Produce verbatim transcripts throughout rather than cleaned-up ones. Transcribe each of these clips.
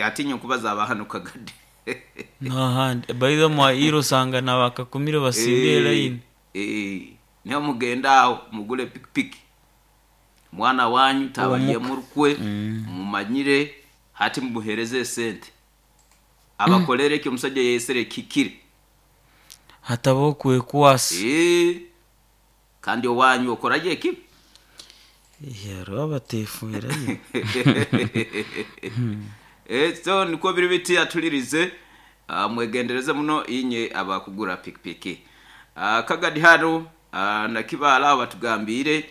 Atinya nkubaza abahano Kagadi. N'ahandi baitha mwairo osanga nabakakumire basimbire line. Eh, niho mugenda aho mugule pikipiki, mwana wanyu tabalye Omuka. murukwe mumanyire hati mumuhereze esente abakolere ekyo omusajja yesere kikire. Hatabaho kwekwasa. Eh, kandi owanyu okorayo ekibi. Hariho abatefuirayo. Eh, so nikwo biri biti atulirize. Ah, mwegendereze muno inye abakugura pikipiki. Ah, Kagadi hano, ah, nakibala abo batugambire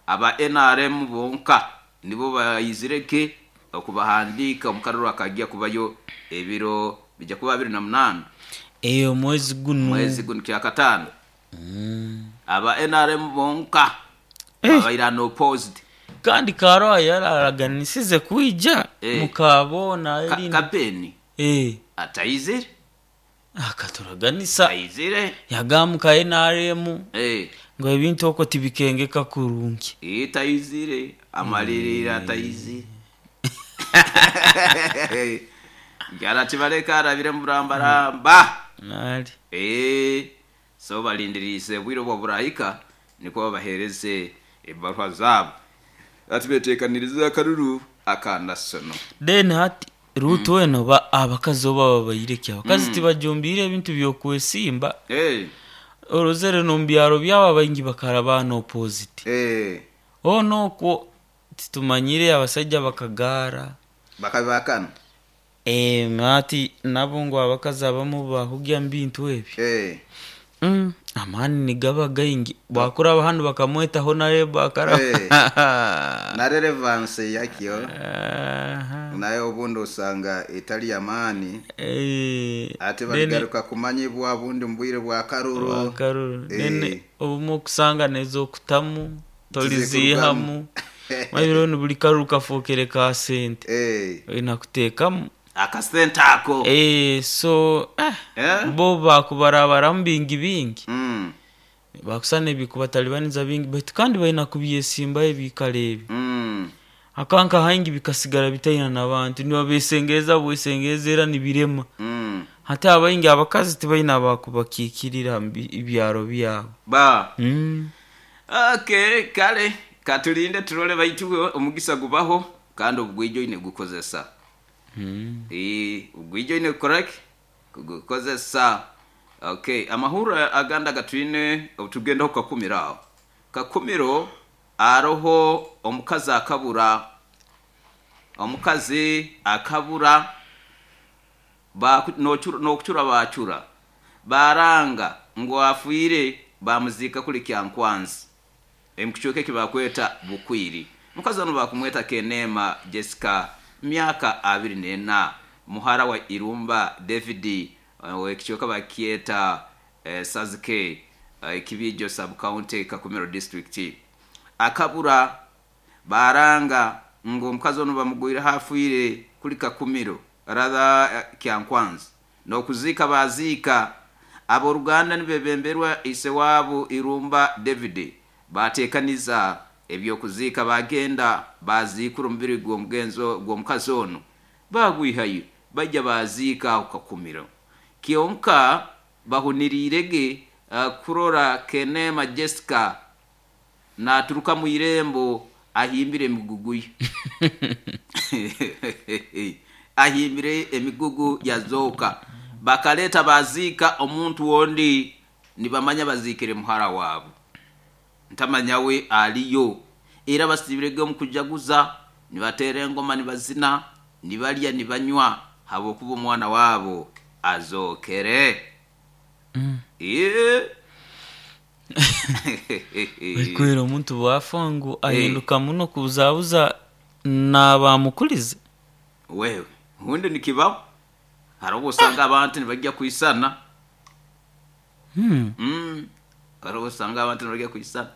aba N R M bonka nibo bayizireke okubahandika omukaruru akajja kubayo ebiro bijja kuba abiri na munaana. Eyo mwezi guno. Mwezi guno kyakataano. Aba N R M bonka abaira no opposed. Kandi Karoa yararaganisize kwija. Eh. Mukabona Ka- erindi. Kapeni Eh, atayizire. Akaturaganisa. Ayizire. Yagamuka N R M eh ngo ebintu okwo tibikengeka kurungi. Itayizire amalirira atayizire gyara arabire murambaramba. Nali. Eh, so balindiriise bwire obwo burahika niko babahereze ebaruha zabo ati betekanirize akaruru akanasono. Then hati Ruto eno ba abakazi oba babaireki abakazi tibajumbiire ebintu byokwesimba. Eh, orozere nomubyaro byabo abaingi bakara no opposite. Eh, ono okwo titumanyire abasajja bakagara. Bakabibakana. Eh, ati nabo ngu abakazi abamu bahugya mu bintu ebyo. Eh, Mm, amaani nigaba gaingi bwakuraba hanu bakamwetaho naye bakaraba. Eh. Na relevance yakyo Aha. nayo obundi osanga etali yamaani. Eh, ate then- baligaruka kumanyibwa bundi mubwire bwa karuru. Wakaruru. Eh. Nene obumwe okusanga nezokutamu tolizihamu. Mabiro ni buli karuru kafookere ka sente. Eh, olina kuteekamu akasente ako. Eh, so eh, Eh? bo bakubarabaramu bingi bingi. Mm, bakusana ebikubatalibaniza bingi baitu kandi balina kubyesimbayo ebikalo ebi. mm. Akanka haingi bikasigara bitaina nabantu nibabesengereza bwesengereza era nibirema. Mm. Hati abaingi abakazi tibalina bakubakikirira mu bi- ebyaro byabo. Ba mm. Okay, kale katulinde turole baitu omugisa gubaho kandi obugwijo ine gukozesa. Mm. Eh, obugwijo ine correct kugukozesa. Okay, amahuru aganda gatwine tugendaho Kakumiro aho Kakumiro aroho omukazi akabura, omukazi akabura Baku- nochura- nokuchura bachura baranga ngu afiire bamuzika kuli Kyankwanzi emukichweka eki bakweta Bukwiri. Mukazi ono bakumweta Kenema Jessica, myaka abiri nena, muhara wa Irumba David, eh, wekichweka bakyeta eh, Sazike, eh, Kibijo sub county, Kakumiro district. Akabura baranga ngo omukazi ono bamugwire hafiire kuli Kakumiro rather eh, Kyankwanzi nokuziika baziika. Abooluganda nibebemberwa ise waabo Irumba David bateekaniza ebyokuziika bagenda baziikura omubiri gw'omugenzo gw'omukazi ono bagwihayo bajja baziika aho Kakumiro. Kyonka bahuniriirege uh, kurora Kenema Jessica naturuka mu irembo ahimbire emigugu ye, ahimbire emigugu yazooka. Bakaleta baziika omuntu wondi nibamanya baziikire muhara waabo ntamanya we aliyo era basibirege omu kujaguza nibateera engoma nibazina nibalya nibanywa habwokuba omwana waabo azookere. Mm. Ee. Baikwera omuntu bwafa ngu ahinduka muno kubuzabuza nabamukulize. Wewe ubundi nikibaho hari ubwo usanga abantu ntibajya kwisana. Hmm. Mm. Hari ubwo usanga abantu ntibajya kwisana.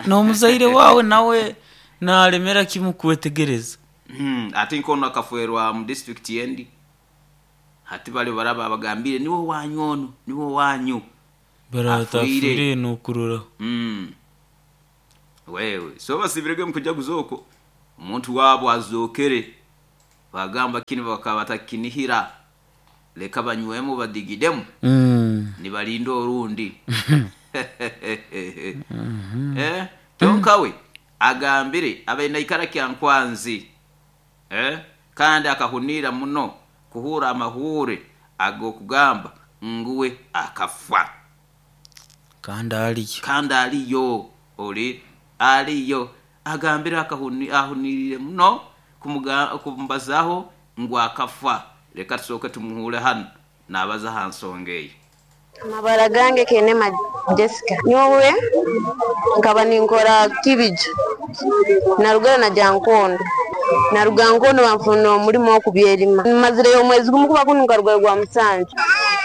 N'omuzaire wawe nawe nalemera kimu kwetegereza. Mm. Ate nkono akafuerwa mu district yendi hati bali baraba bagambire niwo wanyu ono niwo wanyu. Baratafire Afuire. nokurora. Mm. Wewe so basibirege mukujaguza okwo omuntu waabo azookere. Bagamba kini bakaba batakinihira, leka banywemu badigidemu Mm. nibalinda orundi. Eh, kyonka we agambire abainaikara Kyankwanzi, eh, kandi akahunira muno kuhura amahure ag'okugamba nguwe akafa. Kandi aliyo. Kandi aliyo, oli aliyo. Agambire akahuni ahunirire muno kumuga- kumbazaho ngu akafa. Leka tusooke tumuhure hano nabaza ha nsonga eyo. Amabara gange Kenema Jessica. Nyowe nkaba ninkora Kibijo, narugara na Jankondo, naruga Nkondo banfuna omulimo okubyerima, mazireyo omwezi gumu kuba kunu nkarugayo gwa musanju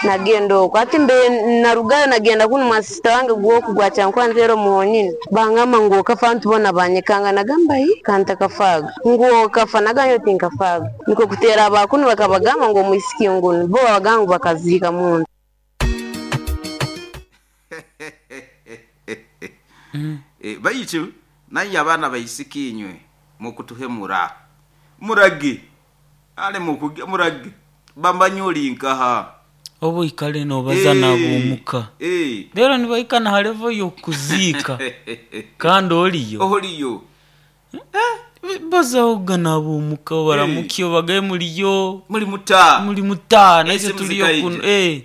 nagenda okwo. Ati mbe narugayo nagenda kunu mwa sisita wange gwoku gwa Kyankwanzi ero muhonyini, bangamba ngu okafa, ntubona banyekanga, nagamba hi kantakafaga, ngu okafa, nagamba tinkafaga, niko kutera abakunu bakabagamba ngu omwisiki ngunu bo babagamba ngu bakaziika muntu. Eh, baitu naye abaana baisiki inywe mukutuhemura murage ale mukuge murage bamanye nkaha. Oba oikale nobaza nab'omuka. Eh. Rero nibaikana ha level y'okuziika kandi oliyo. Oliyo. Bazahoga nab'omuka baramukyo bagaye muliyo. Muli muta. Muli muta naitwe Esimu tuliyo zikaija. kuno eh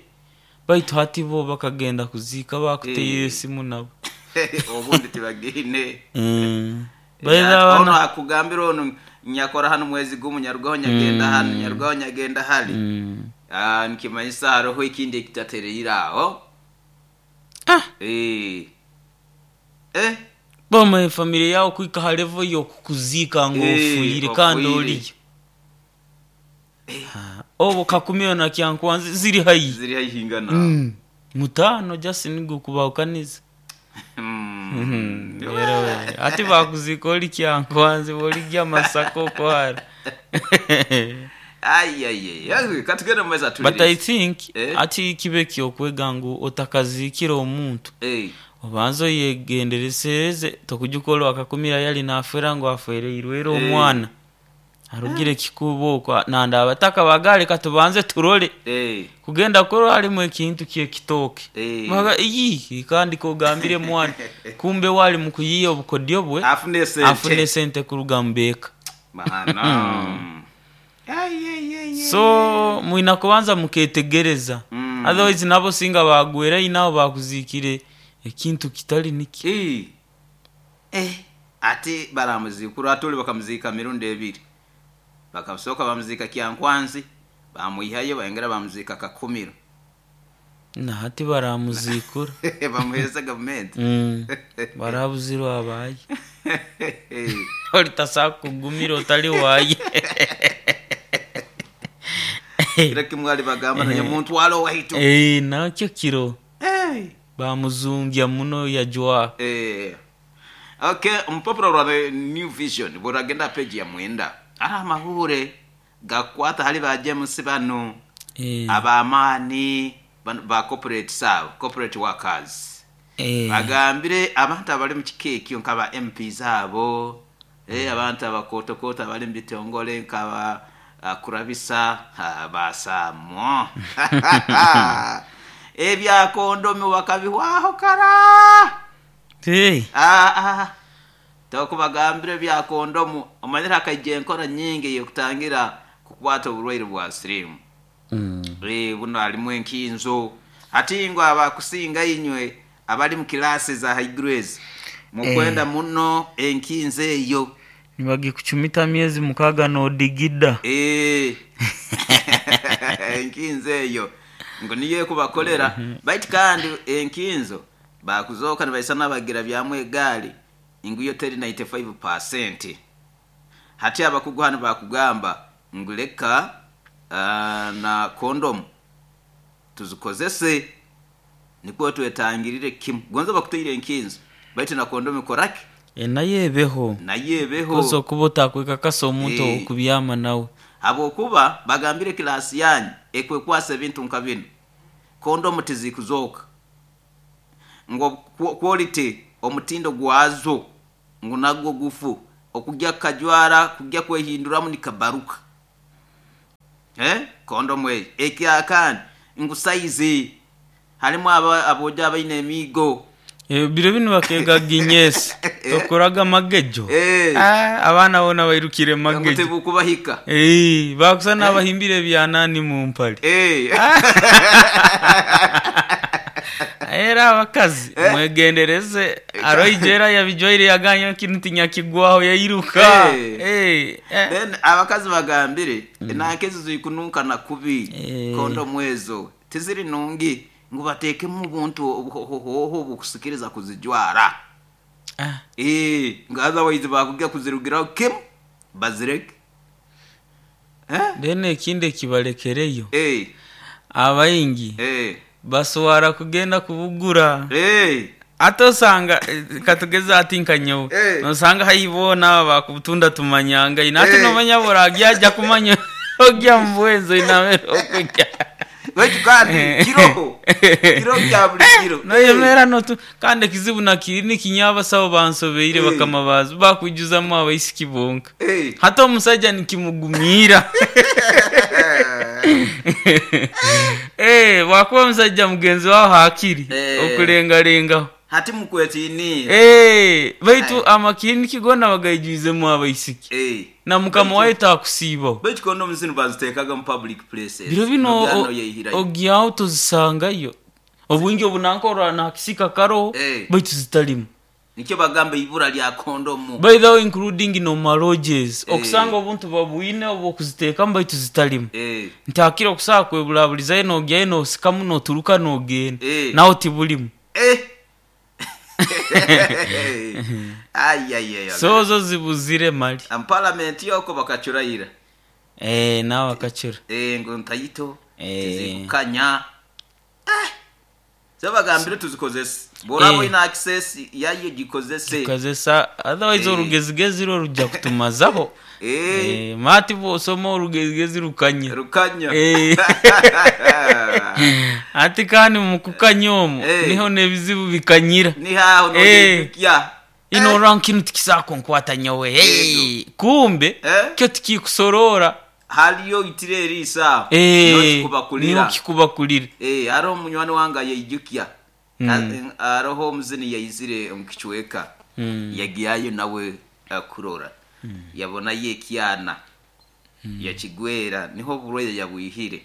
baitu hati bo bakagenda kuziika bakuteire Eh. esimu nabo. Obundi tibagine. Mm. Eh, Baeza ono bana akugambira ono nyakora hano mwezi gumu, nyarugaho nyagenda hano, nyarugaho nyagenda hali. Mm. Ah, nikimanyisa hariho ekindi ekitatereire aho. Ah. Eh. Eh. Bamaye family yawe kwika ha level y'okukuziika ngu Eh, ofuyire kandi ofuyire. oliyo. Ah, obo Kakumiro na Kyankwanzi ziri haihi. Ziri haihi ngana. Mm. Mutano just nigo kubahukaniza. Mm. Rero we, ati bakuzika oli Kyankwanzi boligya Masaka okwara. Ai ai ai. Katugende mu meza But tulirize. I think Eh. ati kibe kyokwega ngu otakazikira omuntu Eh. obanza oyegenderesereze, tokujya ukora wakakumira yali nafera ngu afereirwe era Eh. omwana arugire kikubo okwo nanda abataka bagale katubanze turole. Eh. Kugenda kurora halimu ekintu kyekitooke. Eh. Baga iyi kandi kogambire mwana kumbe wali mukuyiya obukodyo bwe Afune sente. afune sente kuruga mubeka. Mahana. Ai ai ai. So mwina kubanza muketegereza. Mm. Otherwise nabo singa bagwera inabo bakuzikire ekintu kitali niki. Eh. Eh. Ati baramuzikura atuli bakamuzika mirundi ebiri. Bakasoka bamuzika Kyankwanzi, bamwihayo bayongera bamuzika Kakumiro. Na hati baramuzikura. Bamuhereza gavumenti. Mm. Barabuzirwa abaye. Olitasa kugumira otali waye. Kira kimwe bagamba naye muntu walo waitu. Eh, nakyo kiro. Eh. Bamuzungya muno yajwa. Eh. Okay, omupapuro rwa The New Vision buragenda page ya mwenda. Ari amahure gakwata hali ba James bano. Eh. Abamaani bano ba corporate sabo, corporate workers. Eh. Bagambire abantu abali mu kika ekyo nk'aba M Ps abo, eh, abantu abakotokota abali mu bitongole nk'aba uh, kurabisa basaamo. Ebya kondomu bakabihwaho kara. Hey. Ah, ah. Tokubagambire ebya kondomu omanyire hakaija enkora nyingi ey'okutangira kukwata oburwaire bwa siriimu. Mm. Eh, buno halimu enkinzo ati ngo abakusinga inywe abali mu kilasi za high grades mukwenda Eh. muno enkinzo eyo. Nibagikuchumita myezi mukaga nodigida. Eh. Enkinzo eyo ngo niyo ekubakolera. Baitu kandi enkinzo bakuzoka nibaisa n'abagira byamu egaali ngu yo teri ninety-five percent. Hati abakugu hano bakugamba ngu leka, uh, na kondomu tuzikozese nikwo twetangirire kimu. Gonza bakuteire enkinzo baitu na kondomu ikoraki? E, naye ebeho. Naye ebeho. Kosa okuba otakwekakasa omuntu Eh. okubyama nawe. Habwokuba bagambire kilasi yanyu ekwekwasa ebintu nka bino. Kondomu tizikuzoka. Ngo quality omutindo gwazo ngu nagwo gufu okujya kajwara kujya kwehinduramu nikabaruka. Eh, kondomu eyo ekyakandi ngu saizi halimu aba- abojo abaine emiigo. Eh, biro binu bakega ginyesi tokoraga magejo. Eh. Ah, abaana bona bairukire ngu magejo. Tebukubahika. Eh, bakusa n'abahimbire ebyanani mu mpale. Eh. Era abakazi mwegendereze, aroijera yabijwaire yaganya kintu tinyakigwaho yairuka. Eh. Eh, eh. Then abakazi bagambire enanka ezo zikununkana kubi. Eh. Kondomu ezo tiziri nungi, ngu bateekemu obuntu obuhohoho obukusikiriza kuzijwara. Ah, Eh, nga otherwise bakujja kuzirugiraho kimu bazireke. Eh? Then ekindi ekibalekereyo, Eh, abaingi eh, baswara kugenda kubugura. Eh. Ate osanga eh, katugeze ati nkanyowe, Eh. nosanga haibona bakubutunda tumanyanga ina ate Eh. nomanya boragya ajja kumanya ogya mubwezo inamere okujya. Baitu kandi kiroho kiro kya buli kiro. Noyemera notu kandi ekizibu nakiri nikinya abasawo bansobeire. Eh. Bakama bazo bakujuzamu abaisiki bonka. Eh. Hata omusajja nikimugumira. Eh, wakuba omusajja mugenzi wawe hakiri Eh. okulengalengaho. Hati mukwetini. Eh, baitu amakiriniki gona bagaijwizemu abaisiki Eh. na mukama wayo takusiibaho. Baitu kondomu zino baziteekaga mu public places. Biro bino Nogano o- yeihirayo. ogyaho tozisangayo obwingi obunankorwa nakisika karoho. Eh. Baitu zitalimu. Nikyo bagamba ibura lya kondomu. By the way, including no maloges, Eh. okusanga obuntu babwine obwokuziteekamu baitu zitalimu. Eh. Ntakira okusaa kwebulabulizayo nogyayo nosikamu noturuka nogenda. Eh. Naho tibulimu. Eh. Ai ai ai. So zo zibuzire mali. Am parliament yoko bakacurayira. Eh, nawe akacura. Eh, ngo ntayito Eh. tizikukanya. Eh. So bagambire tuzikozese. Borabo Eh. ina access yayo gikozese. Tukozesa otherwise Eh. orugezigezi rwo rujja kutumazaho. Eh. Eh, mati bwosoma orugezigezi rukanya. Rukanya. Eh. Ati kandi mukukanya omwo Eh. niho n'ebizibu bikanyira. Ni haho no Eh. ya. Ino kintu tikisakunkwata nyowe. Hey, kumbe Eh. kyo tikikusorora. Haliyo itire erisa. Eh, No kikubakulira. niho kikubakulira. Eh, hariho munywani wange yeijukya. Mm. Hariho omuzini yaizire omukichweka. Mm. Yagiyayo nawe akurora, yabonayo ekyana yakigwera, niho oburwaire yabwihire,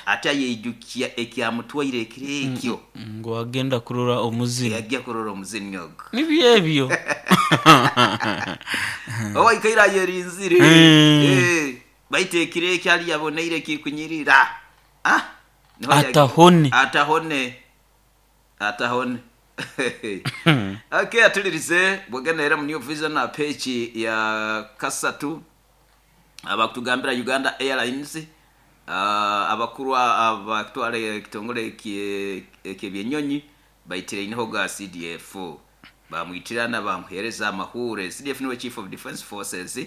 ate yeijukya ekyamutwaire ekiro ekyo. Ngo wagenda kurora omuzini. Yajja kurora omuzini ogwo. Nibyo ebyo. Owaikaire ayerinzire. Mm. Eh, baitu ekiro ekyo ali yaboneire kikunyirira. Ah, niho yagi- Atahone. Atahone, atahone. Okay, atulirize bwegenda era mu New Vision na page ya kasatu abakutugambira Uganda Airlines, uh, abakuru abatwara ekitongole ekyebyenyonyi baitire iniho ga C D F, bamwitirana bamuhereza amahure. C D F niwe Chief of Defense Forces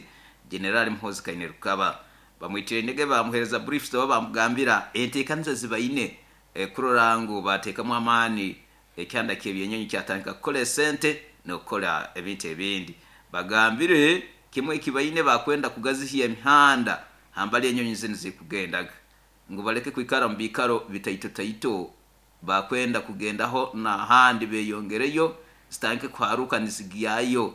General Muhoozi Kainerugaba. Bamwitire indege bamuhereza briefs, oba bamugambira enteekaniza zibaine eh, kurora ngu bateekamu amaani ekyanda kyebyenyonyi kyatandika kukola esente n'okukola ebintu ebindi. Bagambire kimwe ekibaine bakwenda kugazihya emihanda hambali enyonyi zinu zikugendaga, ngu baleke kwikara mu biikaro bitaito taito, bakwenda kugendaho n'ahandi beyongereyo zitandike kuharuka nizigyayo.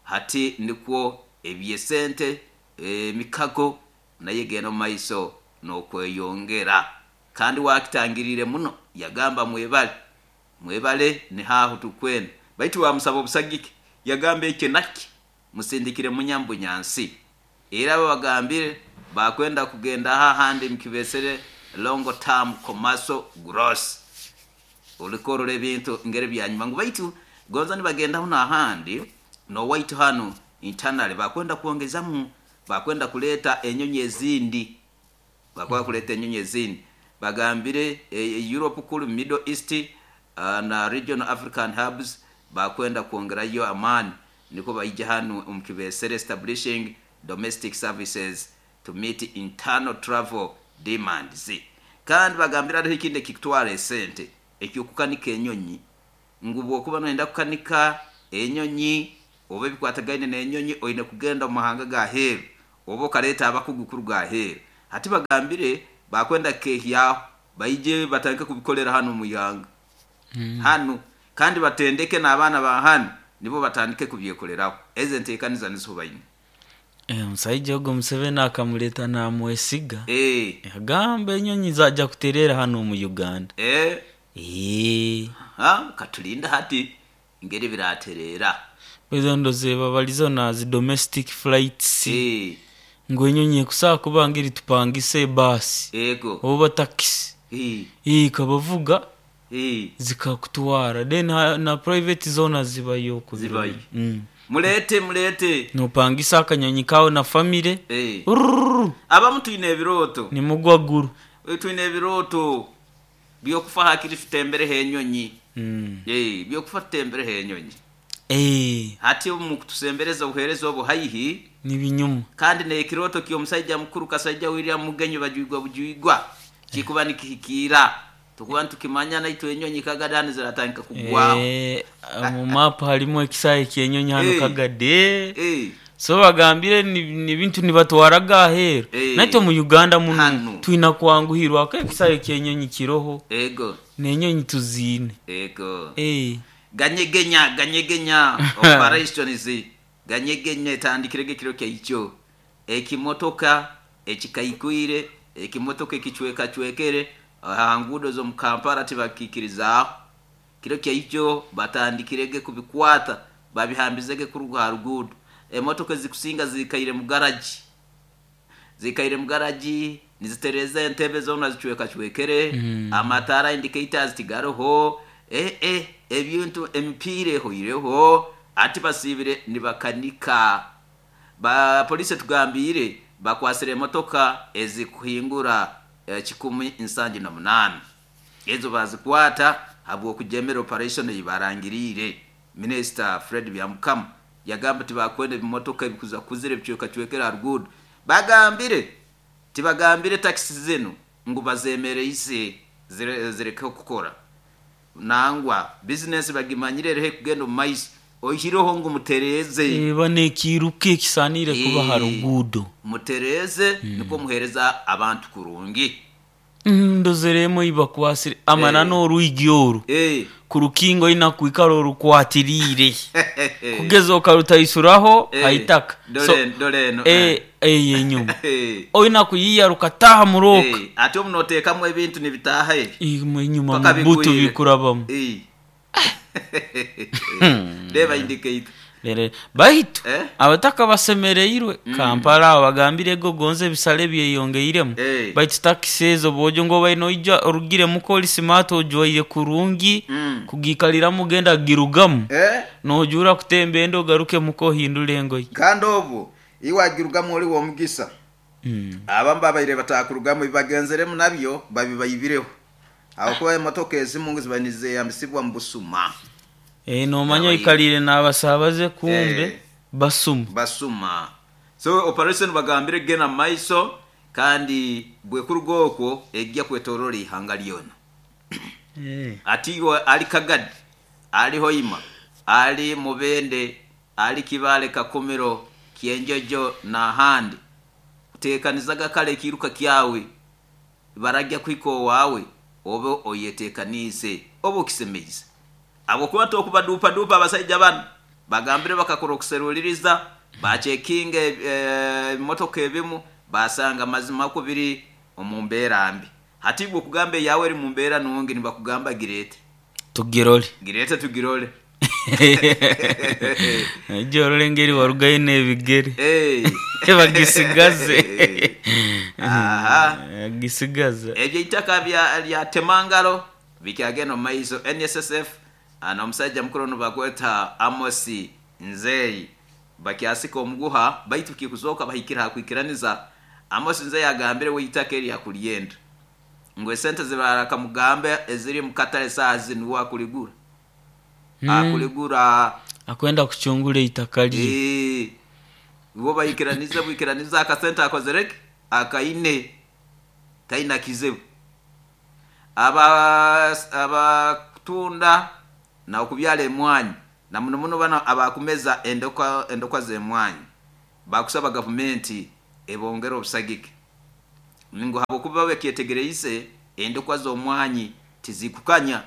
Hati nikwo ebyesente emikago naye genda mu maiso n'okweyongera. Kandi wakitangirire muno yagamba mwebale, mwebale, nihaho tukwenda. Baitu wamusaba obusagike yagamba ekyo naki musindikire munyambunyansi. Era babagambire bakwenda kugenda hahandi mukibesere long term commercial growth, ulikorora ebintu ngeri byanyuma ngu baitu gonza nibagendaho n'ahandi nowaitu hano internally bakwenda kuongezamu, bakwenda kuleta enyonyi ezindi, bakwenda kuleta enyonyi ezindi. Bagambire e, Europe kulu Middle East uh, na regional African hubs bakwenda kuongerayo amani, niko baija hano omukibesere establishing domestic services to meet internal travel demands. Kandi bagambira hariho ikindi ekikutwara esente ekyokukanika enyonyi, ngu bwokuba noyenda kukanika enyonyi oba ebikwatagaine n'enyonyi oine kugenda omu mahanga gaheeru oba okaleeta abakugu kuruga aheeru. Hati bagambire bakwenda kehyaho baije batandike kubikolera hano mu ihanga Mm. hano, kandi batendeke n'abaana ba hano nibo batandike kubyekoleraho. Ezo enteekaniza nizo baine. Eh, omusaija ogwo Museveni akamuleta namwesiga. Eh, Agamba enyonyi zajja kuterera hano mu Uganda. eh, Eh. ha katulinda hati ngeri biraterera. Ezo ndozeba balizo na zi domestic flights. Eh, Ngu enyonyi ekusobola kuba ngeri tupangise ebasi ego. oba takisi. Eh, Eh, kabavuga eh, zikakutwara, then ha, na private zona zibayo ku biro. Zibayo. Mm. Mulete mulete. Nopangisa akanyonyi kawe na famire. Eh. Urururu, Abamu twine ebirooto. nimugwa guru. Eh, twine ebirooto byokufa hakiri tutembereho enyonyi. Mm. Eh, byokufa tutembereho enyonyi. Eh, Hati omu kutusembereza obuheereza obu haihi nibinyuma. kandi nekiroto ky'omusajja mukuru Kasaija William Mugenyi bajwigwa bujwigwa kikuba nikihikiira tukuba nitukimanya naitwe enyonyi kagadani ziratandika kugwaho. Eh, mu map harimu ekisaayi ky'enyonyi hano Eh. Kagade. Eh, So bagambire ni, ni bintu nibatwaraga aheeru. Eh. Naitwe mu Uganda muno Hano. twina kwanguhirwa ko ekisaayi ky'enyonyi kiroho ego n'enyonyi tuziine. ego. Eh. Ganyegenya ganyegenya operations ganyegenya etandikirege kiro kyaikyo ekimotoka ekikaikwire ekimotoka ekicwekacwekere aha nguudo z'omu Kampala tibakikirizaaho kiro kyaikyo batandikirege kubikwata babihambizege kuruga ha ruguudo. Emotoka ezikusinga zikaire mu garaji, zikaire mu garaji nizitereza entebe zona zicwekacwekere. Mm. Amataara indicators tigaroho, eh, eh, ebintu emipiira ehoireho ati basiibire nibakanika. Ba polisi tugambire bakwasire emotoka ezikuhingura eh, kikumi nsangi na munaana ezo bazikwata habw'okujemera operation eyibarangiriire. Minisita Fred Byamukama yagamba tibakwenda ebimotoka ebikuza kuzira ebicwekacwekere ha ruguudo. Bagambire tibagambire takisi zinu ngu bazemereise zire- zireke kukora nangwa bizinesi bagimanyire erehe kugenda omu maiso oihireho ngu mutereze. Eba nekiruka ekisaanire kuba ha Eh. ruguudo. Mutereze niko muhereza abantu kurungi. Mm, ndozeremu ibakwasire amana Eh. n'orwigi oru Eh. ku rukingo ina kwikara orukwatiriire kugeza okarutaisuraho Eh. haitaka. Dore dore eno. eh, eh, enyuma Eh. oina kuyiya rukataha muroka. Eh, ate omunoteekamu ebintu nibitaaha ebi Imwe enyuma Paka mubutu bigwire. bikurabamu. Eh. Reba indicator. Rere baitu Eh? abataka basemereirwe Kampala abo bagambire ego gonze ebisale byeyongeiremu. Eh. Baitu takisi ezo bwojo ngo baine oija orugiremu koli smart ojwaire kurungi Mm. kugiikaliramu genda girugamu Eh? nojura kutemba ende ogaruke muka ohindura engoyi. Kandi obwo iwagirugamu oli w'omugisa. Mm. Abamu babaire batakurugamu ebibagenzeremu nabyo babibaibireho ahakuba emotoka ezimu ngu ziba nizeyambisibwa mu busuma. Eh, nomanya Abayi- oikalire n'abasabaze kumbe Eh. basuma. Basuma. So operation bagambire genda mu maiso kandi bwekuruga okwo ejja kwetorora ihanga lyona. Eh. Ati iwe ali Kagadi, ali Hoima, ali Mubende, ali Kibale, Kakumiro, Kyenjojo n'ahandi, kuteekanizaga kale ekiruka kyawe barajya kwika owaawe obe oyeteekaniise oba okisemeize habwokuba tokubaduupaduupa abasaija bano bagambire bakakora okuseruliriza bacekinga ebimotoka ebimu basanga mazima ko biri omu mbeera mbi. Hati gwe okugamba eyawe eri mu mbeera nungi nibakugamba gireete. Tugirole. Gireete tugirole. Ejja engeri warugayo n'ebigere. Eh. Bagisigaze. Aha. Bagisigaze. Ebyo eitaka bya lya temangalo bikyagenda omu maiso. N S S F ana omusajja mukuru ono bakweta Amosi Nzeyi bakyasika omuguha baitu kikuzooka bahikire hakwikiraniza. Amosi Nzeyi agambire we eitaka eri akulyenda ngu esente zibarakamugambe eziri mu katale saaha zinu we akuligura. Mm. Akuligura. Akwenda kuchungura eitaka lye. Eh, bo bayikiranize bwikiraniza akasente akozereke akaine taina kizibu. Aba abakutunda na okubyala emwanyi na muno muno bano abakumeza endokwa endokwa z'emwanyi bakusaba gavumenti ebongere obusagike. Ngu habwokuba bakyetegereize endokwa z'omwanyi tizikukanya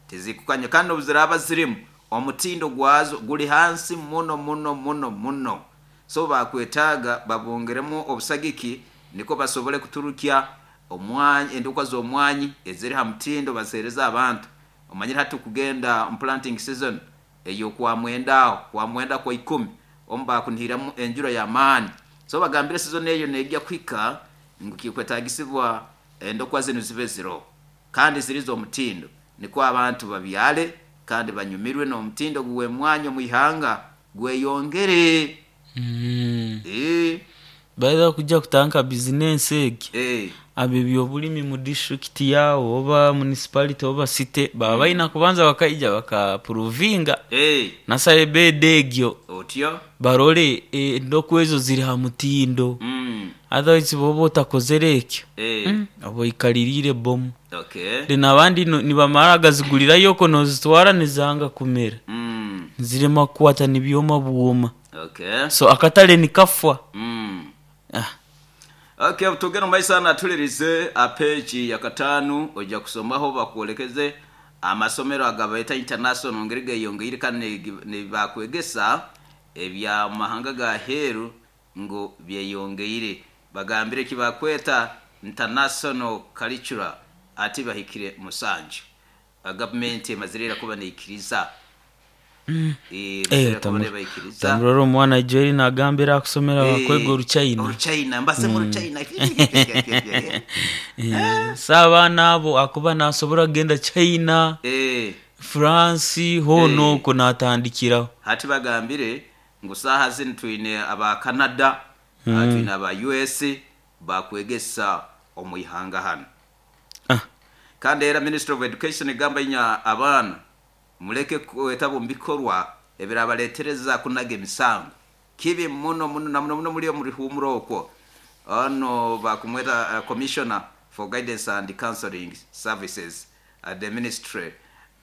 tizikukanya kandi obuziraba zirimu omutindo gwazo guli hansi muno muno muno muno. So bakwetaaga babongeremu obusagiki niko basobole kuturukya omwanyi endokwa z'omwanyi eziri ha mutindo bazihereza abantu. Omanyire hati kugenda mu planting season eyo kwa mwenda aho kwa mwenda kwa ikumi omu bakunihiramu enjura y'amaani. So bagambire season eyo negya kuhika ngu kikwetagisibwa endokwa zinu zibe ziro kandi ziri z'omutindo niko abantu babyale kandi banyumirwe n'omutindo gw'emwanyi omu ihanga gweyongere. Mm. Eh, Baida kujja kutandika bizinensi egi eh, abo ebyobulimi mu disitulikiti yaabo oba municipality oba city baba balina kubanza bakaija bakapuruvinga eh, nasaba ebedi egyo otyo barole endokwa ezo ziri ha mutindo. mm, Otherwise bwoba otakozere ekyo eh, mm, oba oikaliriire bomu. Okay. Then abandi no- nibamara gazigulirayo oko nozitwara nizanga kumera mm, nizirema kukwata nibyoma bwoma. Okay. So akatale nikafwa. mm. Ah. Okay, tugenda mu maiso natulirize apeji ya katano ojja kusomaho bakwolekeze amasomero agabaita international ngeri geyongeire kandi nibakwegesa ebya mahanga ga heru ngo byeyongeire. Bagambire kibakweta international curriculum ati bahikire musanju. Gavumenti emazirira kuba neikiriza. Mm. Eh, Eh, mazirira kuba tamur- nebaikiriza. tamurora omwana Joel nagambira akusomera Eh, bakwega oruchina. Oruchina mbase mu Ruchina. Eh, so abaana abo akuba nasobora kugenda China, Eh. France hoona Eh. okwo natandikiraho. Hati bagambire ngu saaha zinu twine aba Canada, mm. twine aba U S bakwegesa omu ihanga hano. Ah. Kandi era Ministry of Education egamba inya abaana muleke kwetaba omu bikorwa ebirabaleetereza kunaga emisango kibi muno muno na muno muno muri muri humuro okwo. Ono bakumweta uh, Commissioner for Guidance and Counseling Services at the Ministry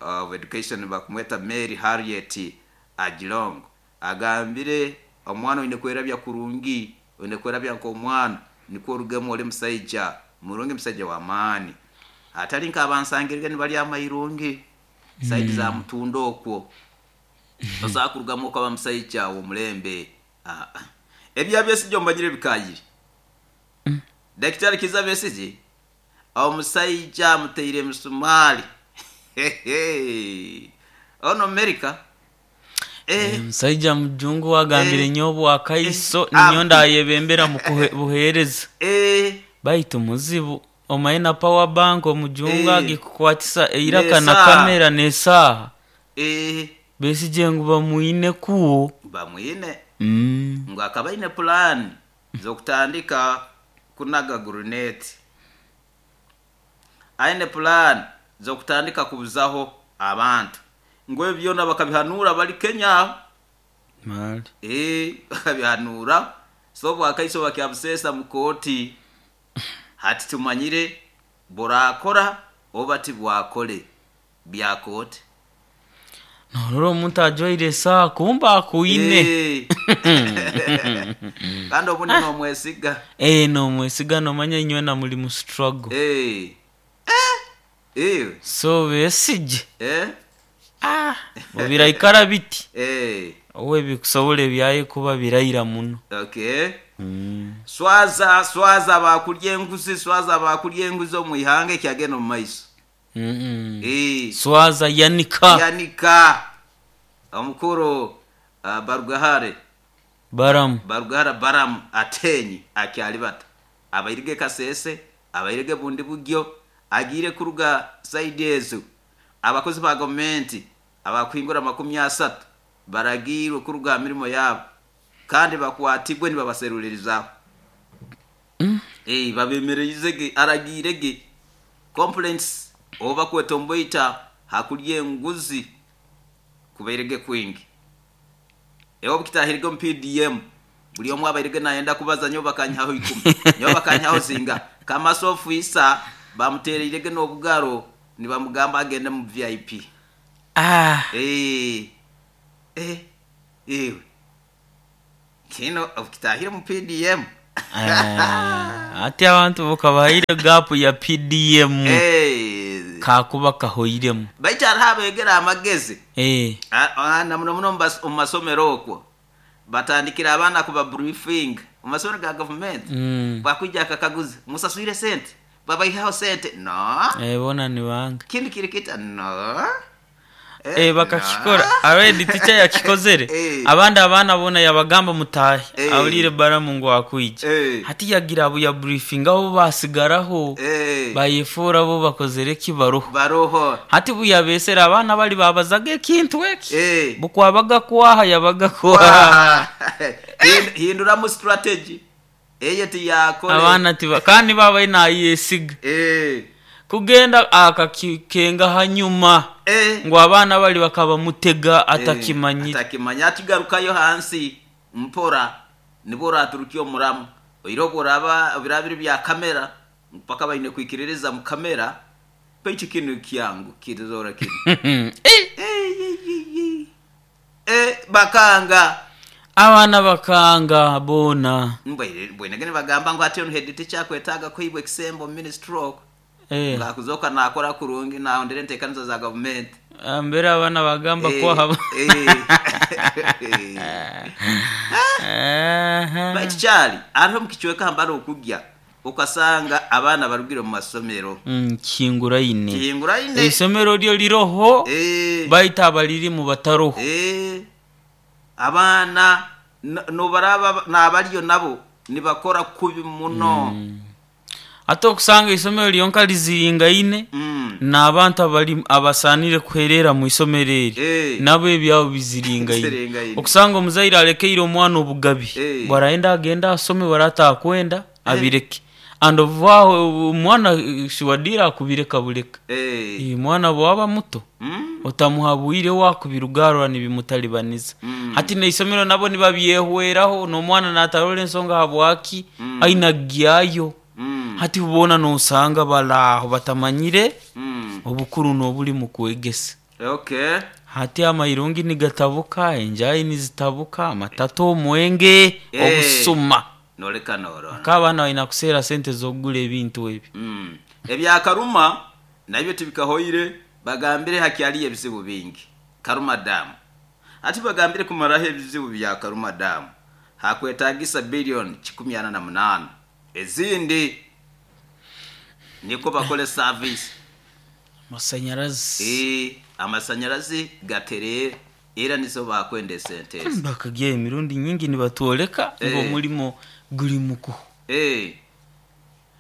of Education bakumweta Mary Harriet Ajilong agambire omwana oine kwerabya kurungi, oine kwerabya nk'omwana nikwo orugemu ori musaija murungi, musaija w'amaani atali nk'abansangirire nibari amairungi saidi za mutundo okwo osobola kurugamu okaba musaija w'omulembe. Ah, ah. Ebya Besigye omanyire bikayire. Daktari Kizza Besigye omusaija amuteire emisumari. Ono America. Eh, Omusaija mujungu agambire Eh. nyowe akaiso Eh. Ah. ninyo ndayebembera mu kuhe- buheereza. Eh, Baitu muzibu omaye na power bank omujungu Eh. agikukwatisa eiraka na N'esaaha. kamera n'esaaha. Eh, Besigye ngu bamwine kuwo. Bamwine. Mm. Ngu akaba aine plan z'okutandika kunaga guruneti, aine plan z'okutandika kubuzaho abantu ngu ebyo byona bakabihanura bali Kenya. Mali. Eh, bakabihanura so bwakaiso bakyabusesa mu kooti. Hati tumanyire burakora oba tibwakole bya kooti. Norora omuntu ajwaire esaaha kumba akuine. Eh. Kandi obundi nomwesiga. Eh, nomwesiga nomanya inywe na muri mu struggle. Eh. Eh. Eh. So Besigye. Eh. Ah, obiraikara biti. Eh. Owe bikusobola ebyaye kuba birayira muno. Okay. Mm. Swaza swaza bakulya enguzi, swaza bakulya enguzi omu ihanga ekyagenda omu maiso. Mm -mm. Eh. Swaza yanika. Yanika. Omukuru uh, Barugahare. Baramu. Barugahara Baramu atenyi akyali bata. Abairige Kasese, abairige bundi bugyo, agire kuruga saidi ezo. Abakozi ba gavumenti abakwingura makumi asatu baragirwe kuruga mirimo yabo kandi bakwatibwe nibabaserulirizaho. Mm. Eh, babemerezege aragirege complaints oba kwetomboita hakulya enguzi kubairege kwingi. Ewo bukitahirige mu P D M buli omwe abairege nayenda kubaza nyo bakanyaho ikumi nyo bakanyaho zinga kamasofu isa bamutereirege n'obugaro nibamugamba agende mu V I P. Ah. Eh. Eh. Ewe. Kino okitahira mu P D M Eh, ati abantu bukabahaire gap ya P D M. Eh. Kakuba kahoiremu. Baitu hariho abegera amagezi. Eh. Na muno muno mu masomero okwo batandikira abaana kuba briefing mu masomero ga government. Mm. Bakwijja akakaguza musaswire sente babaihaho sente no. Eh, bona ni banga kindi kirikita no. Eh, bakakikora already teacher yakikozere. Eh. Abandi abaana bona yabagamba mutahe. Eh. Awulire baramu ngo akwije. Eh. Hati yagira abo ya briefing aho basigaraho. Eh. Bayefura bo bakozere kibaroho. Baroho. Hati buyabesera abaana bali babazaga ekintu eki. Eh. Bukwabaga kwaha yabaga kwaha. Hindura mu strategy. Eye tiyakole. Abaana tiba kandi baba ina yesiga. Eh. Kugenda akakikenga hanyuma. Eh. Ngo abaana bali bakaba mutega atakimanyira. Eh, atakimanya atigarukayo hansi mpora nibora aturukiyo muramu. Oirobo raba birabiri bya kamera mpaka bayine kwikiririza mu kamera pechi kinu kyangu kizora kinu. Eh. Eh, eh, eh, bakanga. Abaana bakanga bona. Mbwe bwenegene bagamba ngo ati on head teacher kwetaga kwibwe kisembo ministry ok. Eh. Ngakuzoka nakora kurungi na ondere ntekanizo za government. Mbere abana bagamba eh, ko haba. Eh. Baitu kyali ariho mukichweka hambara okujya ukasanga abana barugire mu masomero. Mm, kingura ine. Kingura ine. Isomero ryo liroho. Eh. Baita abaliri mu bataroho. Eh. Abana no baraba nabariyo nabo nibakora kubi muno. Mm. Ate okusanga isomero lyonka liziringa ine. Mm. N'abantu abali abasanire kuherera mu isomero eri. Eh. Nabo ebyabo biziringa ine. Okusanga omuzaire alekeire omwana obugabi. Eh. Bwaraenda agenda asome baratakwenda abireke. And vaho omwana shiwadira akubireka buleka. Eh. Eh, mwana bwaba muto. Mm. Otamuhabwire wakubirugarwa nibimutalibaniza. Mm. Hati n'isomero nabo nibabyehweraho n'omwana natarole ensonga habwaki mm. aina gyayo. Mm. Hati ubona nosanga balaho batamanyire mm. obukuru n'obuli mu kwegesa. Okay. Hati amairungi nigatabuka, enjayi nizitabuka, amatato omwenge, eh. obusuma. Noleka noro. Akabana balina kuseera sente z'okugula ebintu ebyo. Mm. Ebya Karuma nabyo tibikahoire bagambire hakyali ebizibu bingi. Karuma Dam. Ati bagambire kumaraho ebizibu bya Karuma Dam. Hakwetagisa bilioni kikumi ana na munana. Ezindi niko bakole service amasanyarazi. Eh, amasanyarazi gaterere era nizo bakwende sentence. Bakagiye emirundi nyingi nibatwoleka eh. ngo mulimo guli muku. Eh.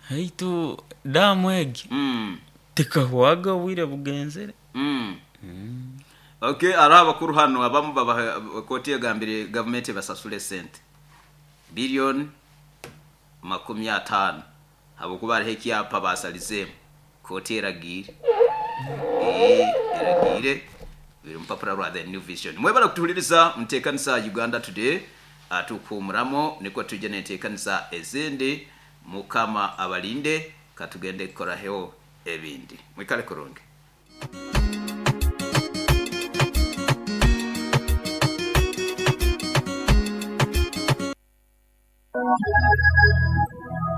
Haitu damu egi. Mm. Tekahwaga wire bugenzere. Mm. Mm. Okay, araba kuru hano abamu baba koti yagambire government basasule sente. Billion makumi atano habokuba ari ekyapa basalize koti eragire. Eh, eragire biri mupapura rwa The New Vision. Mwebala kutuhuliriza mtekanisa Uganda Today atukumuramo niko tuje netekanisa ezindi mukama abalinde katugende koraheho ebindi. Mwikale kurungi.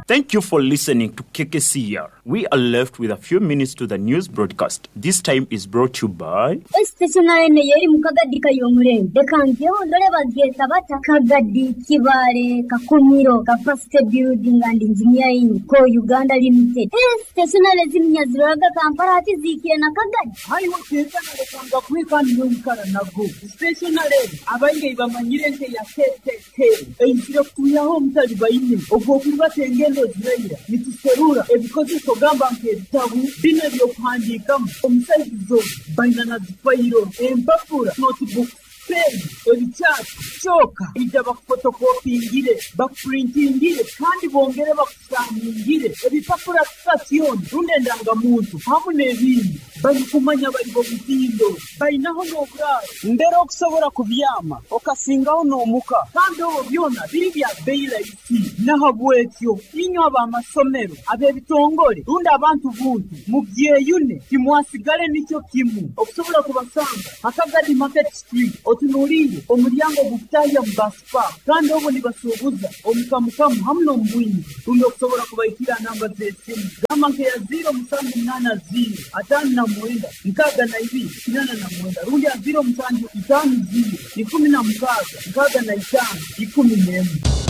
Thank you for listening to K K C R. We are left with a few minutes to the news broadcast. This time is brought to you by Stationary yeri mukagadi kayomurembe kangeho ndore bageta bata Kagadi Kibare Kakumiro Capacity Building and Engineering Co Uganda Limited. Stationary zimnyaziraga Kampala ati zikiye na Kagadi. Hayi wakeza kanga kwikandi n'omukara nago. Stationary abainge bamanyire nte ya K K K. Enkiro kuyaho omutali bayine ogwo kubatenge ziraira nituserura ebikozeso gamba nk'ebitabu bino ebyokuhandiikamu omusaizizo baina na zifayiro empapura notebook pen ebikyapa kyoka ija bakufotokopingire bakupurintingire kandi bongere bakusaningire ebipapura sitasioni rundi endangamuntu hamu n'ebindi Balikumanya bali b'omutindo bainaho n'oburaaro mbere okusobola kubyama okasingaho n'omuka kandi obwo byona biri bya bei rahisi. Nahabwekyo inywe ab'amasomero ab'ebitongole rundi abantu buntu mubyeyune timwasigale nikyo kimu. Okusobola kubasanga Hakagadi Market Street otunuliire omulyango ogukutahya mu Baspa kandi obwo nibasuubuza omukamukamu hamu n'omubwingi. Rundi okusobola kubaikira namba z'esimu gamba nkeya ziro musanju munaana ziro ataano na mwenda nkaaga na ibiri kinaana na mwenda rundi ya ziro musanju itaano ziro ikumi na mukaaga nkaaga na itaano ikumi n'emwe.